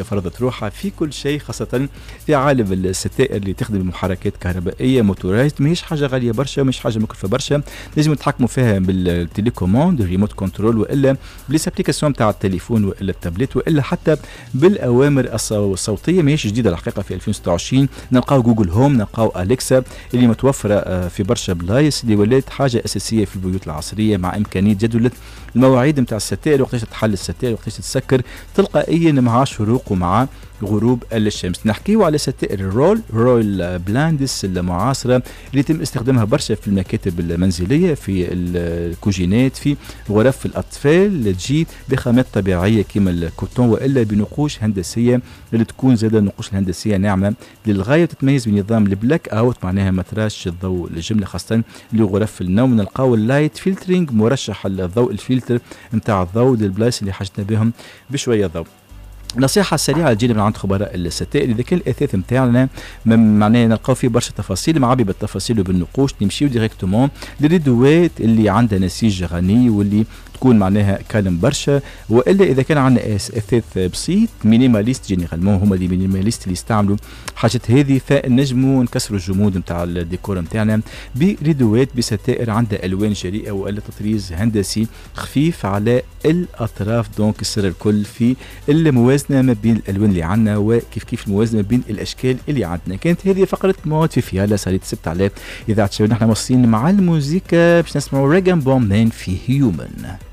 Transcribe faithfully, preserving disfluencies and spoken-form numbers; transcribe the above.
فرضت روحها في كل شيء، خاصة في عالم الستائر اللي تخدم بمحركات كهربائية motorisées. ماهيش حاجة غالية برشا، مش حاجة مكلفة برشا، لازم تتحكموا فيها بال télécommande، ال remote control، والا ب les applications تاع التليفون والا التابلت والا حتى بالاوامر الصوتيه. ماهيش جديدة الحقيقه، في ألفين وستة وعشرين نلقاو Google Home، نلقاو Alexa اللي متوفرة آه، في برشا بلايص، اللي ولات حاجة اساسية في البيوت العصريه، مع امكانية جدوله المواعيد نتاع الستائر، وقتاش تحل الستائر، وقتاش تسكر تلقائيا مع شروق ومع غروب الشمس. نحكيو على ستائر ال roll roll blinds المعاصرة اللي يتم استخدامها برشا في المكاتب المنزلية، في الكوجينات، في غرف الأطفال. تجي بخامات طبيعية كما ال coton وإلا بنقوش هندسية اللي تكون زادة النقوش الهندسية ناعمة للغاية، تتميز بنظام ال black out، معناها ما تراش الضوء الجملة، خاصة لغرف النوم. نلقاو ال light filtering، مرشح الضوء، الفلتر نتاع الضوء للبلايص اللي حاجتنا بهم بشوية ضوء. نصيحة سريعة تجينا من عند خبراء الستائر: إذا كان الأثاث نتاعنا معناها نلقاو فيه برشا تفاصيل، معبي بالتفاصيل وبالنقوش، نمشيو directement للريدوات اللي عندها نسيج غني واللي تكون معناها calme برشا. والا اذا كان عندنا اثاث بسيط minimaliste، généralement هما les minimalistes اللي يستعملوا حاجات هذه، فنجموا نكسروا الجمود نتاع الديكور نتاعنا بريدوات، بستائر عندها الوان جريئة والا تطريز هندسي خفيف على الاطراف. donc السر الكل في الموازنة ما بين الالوان اللي عندنا، وكيف كيف الموازنة ما بين الاشكال اللي عندنا. كانت هذه فقره mode في فيالا سهرية السبت على اذاعة شباب. نحن مواصلين مع الموزيكا باش نسمعوا Rag'n'Bone Man في Human.